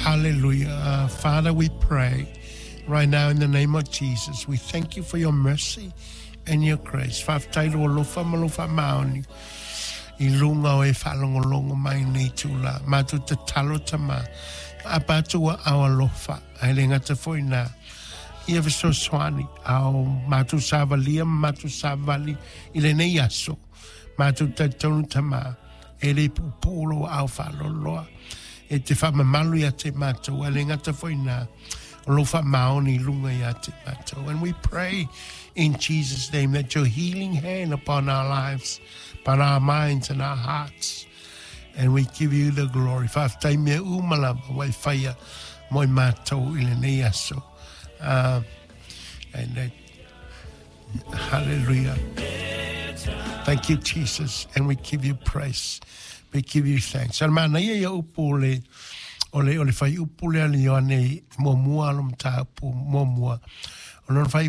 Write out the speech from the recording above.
Hallelujah. Father, we pray right now in the name of Jesus. We thank you for your mercy and your grace. Faafetai lou alofa ma lou faamaoni i luga o e faalogologo mai nei tula. Matou tatalo Tama, aapa atu ua ao alofa, ae le gata foi na ia fesoasoani ao matou savalia ma matou savali i lenei aso. Matou talitonu Tama, e le puupuu lou aao faaloaloa e te faamamalu ia te matou, ae le gata foi na o lou faamaoni i luga ia te matou. And we pray in Jesus' name that your healing hand upon our lives, upon our minds and our hearts. And we give you the glory. Faafetai mea uma lava ua e faia mo i matou i lenei aso. And hallelujah. Thank you, Jesus, and we give you praise. We give you thanks. Al mana ia ia upu o le, o le, o le whai upu lea le Ioane muamua alo mataupu muamua. O lona whai